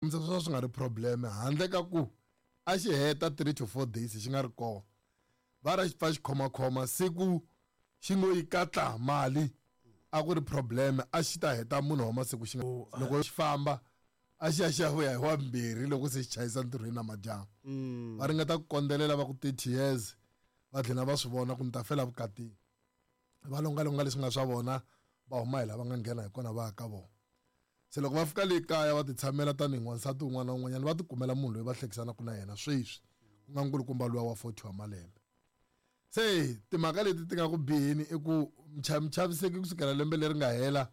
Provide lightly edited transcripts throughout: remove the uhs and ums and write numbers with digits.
Kombisa swi nga ri problem handle ka ku a xi heta 3 to 4 days xi nga ri kona va ra xi pfa xi khomakhoma siku xi ngo yi katla mali a ku ri problem a xi ta heta munhu wa masiku xi nga loko xi famba a xi ya xi ya vuya hi wambirhi loko se xi chayisa ntirhweni namadyambu va ringeta ku kondzelela va ku 30 years va dlina va swi vona ku ni ta fela vukatini va longalonga leswi nga swa vona va huma hi laha va nga nghena hi kona va ya ka vona se loko va fika le kaya va ti tshamela tanihi n'wansati un'wana na un'wanyana va tikumela munhu loyi va hlekisanaka na yena sweswi ku nga nkulukumba luwa wa 40 wa malembe se timhaka leti ti nga ku biheni i ku michaviseki kusukela lembe leri nga hela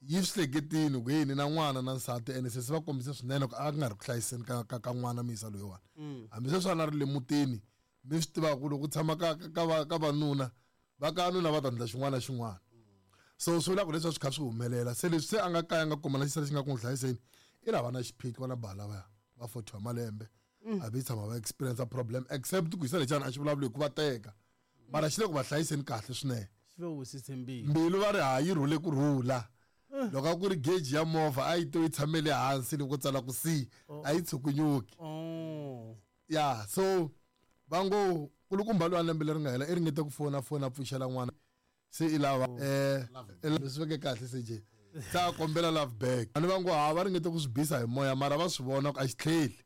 yi swi hleketini ku yini na n'wana na nsati ene se se va kombise swinene ku a ku nga ri ku hlayiseni ka ka ka n'wana muyisa loyiwani hambi sweswi a na ri le mutini mi swi tivaka ku loko ku tshama ka ka ka ka vanuna va ka nuna va ta endla xin'wana na xin'wana so swi vula ku leswi a swi kha swi humelela se leswi se a nga kaya a nga kuma na xisati xi nga ku n'wi hlayiseni i lava na xiphiqo na bala va va 40 wa malembe a vi tshama va experience problem except ku yisa lexana a xi vulavuli hi ku va teka mara xi le ku va hlayiseni kahle swinene xi va wisise mbilu mbilu va ri ha yi rhule ku rhula loko a ku ri geji ya movha a yi to yi tshamele hansi loko tsala ku c a yi tshukunyuki oh ya so va ngo kulukumba loyi a lembe leri nga hela i ringete ku fona fona a pfuxela n'wana se i lava leswi veke kahle se je se a kombela love back ani va ngo ha va ringete ku swi bisa hi moya mara va swi vona ku a xi tlheli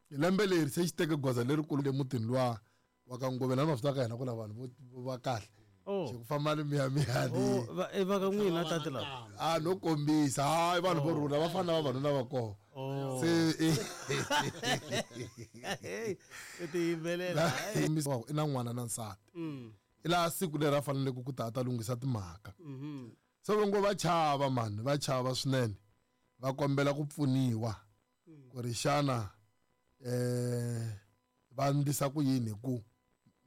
lembe leri se xi teke goza lerikulu le mutini luwa wa ka Ngoveni a ma swi tiva ka hina ku na vanhu vo va kahle Oh. xi ku famba ni miyamiyani Oh, va i va ka n'wina tati lava a no kombisa hayi vanhu vo rhula va fana na vavanuna va kona Oh. se Hey, i tiyimbelela i na n'wana na nsati i laha siku leri a faneleke ku ta a ta lunghisa timhaka se va ngo va chava mani va chava swinene va kombela ku pfuniwa ku ri xana va endlisa ku yini hi ku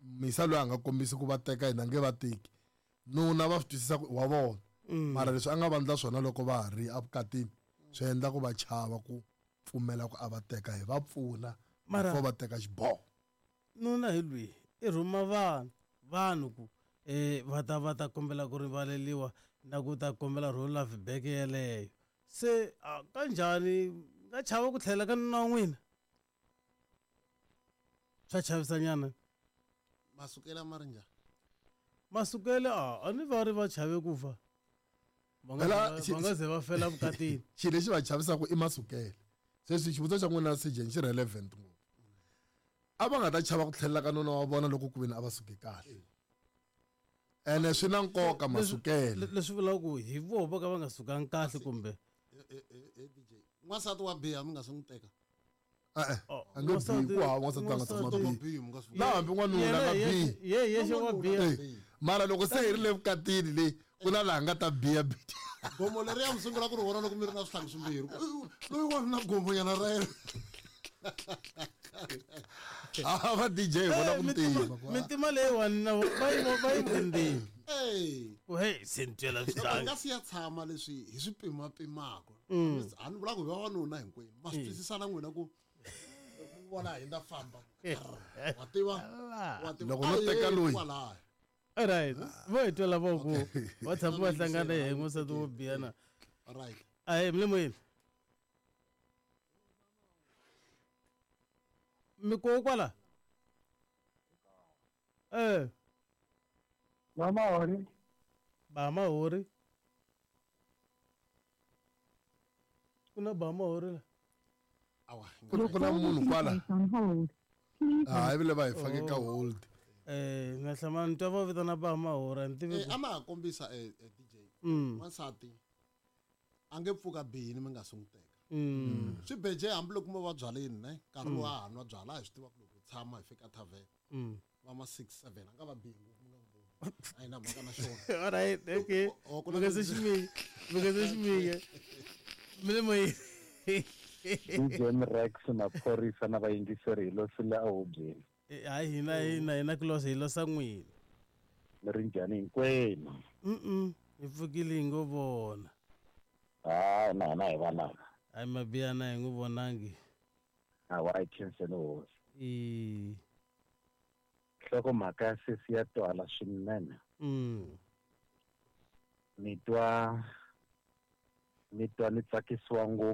misa loyi a nga kombisi ku va teka hina nge va teki nuna va swi twisisa ku wa vona mara leswi a nga va endla swona loko va ha ri evukatini swi endla ku va chava ku pfumela ku a va teka hi va pfuna Mara- before va teka xiboho nuna hi lwihi i rhuma vanhu vanhu ku va ta va ta kombela ku rivaleliwa na ku ta kombela ro love back yeleyo se a kanjhani nga chava ku tlhela ka nuna wa n'wina swa chavisanyana masukela ma ri njhani masukele a a ni va ri va chave ku fa va nga Phela, va nga ze va fela vukatini xilo lexi va chavisaka i masukele sweswi xivutiso xa n'wina sejeni xi relevant ngopfu a va nga ta chava ku tlhelela ka nuna wa vona loko ku veni a va suke kahle ene swi na nkoka masukele leswi vulaka ku hi voho vo ka va nga sukangi kahle kumbe DJ n'wansati wa biha mi nga se n'wi teka e-e Oh, a nge bihi ku hava n'wansati a nga tshama bihi na hambi n'wanuna a nga bihi ye yexe wa biha Eh, mara loko se hi ri le vukatini leyi ku na laha nga ta biha biha gomo leriya mi sungula ku ri vona loko mi ri na swihlangi swimbirhi loyi wa na gomonyana ra yena a va DJ hi vona ku ntima mintima leyiwani na va yi va yi ndzeni Hey. ku hey se ni twela Loko hi swihlangi nga si ya tshama leswi hi swi pimapimaka a ni vula ku hi vavanuna hinkwenu ma swi twisisa na n'wina ku loko mi vona hi nda famba wa tiva wa tiva Loko no A hi teka yeni loyi. kwalaya. alright vo hi twela vo ku va tshama va hlangana hi n'wansati wo biha na right ahe mi le moyeni mi koho kwala eh Mama hori ba mahori ku na ba mahori la awa ku na ku na munhu kwala On hold. Please hayi vile va hi fake ka hold eh na hlamala ni twa va vitana ba mahori a ni tivi Eh, a ma ha kombisa DJ wansati a nge pfuka bihini mi nga si n'wi teka swi beje hambiloko mo va byaleni ne nkarhi lowu a ha nwa byala a hi swi tiva ku loko hi tshama hi fika tavern va ma 6 7 a nga va bihi ngopfu mi nga n'wi voni a yi na mhaka na xona alright okay Oh, ku na mi nga se ximike mi nga se ximike mi le moyeni DJ Mrex maphorisa na vayingiseri hi losile ehubyeni Eh, hayi hina hina hina ku losa hi losa n'wina mi ri njhani hinkwenu mm hi pfukile hi ngo vona hayi na hina hi valava hayi mabiyana hi n'wi vonangi hawa hi khenseni hosi i nhlokomhaka ya sesi ya twala swinene ni twa ni twa ni tsakisiwa ngopfu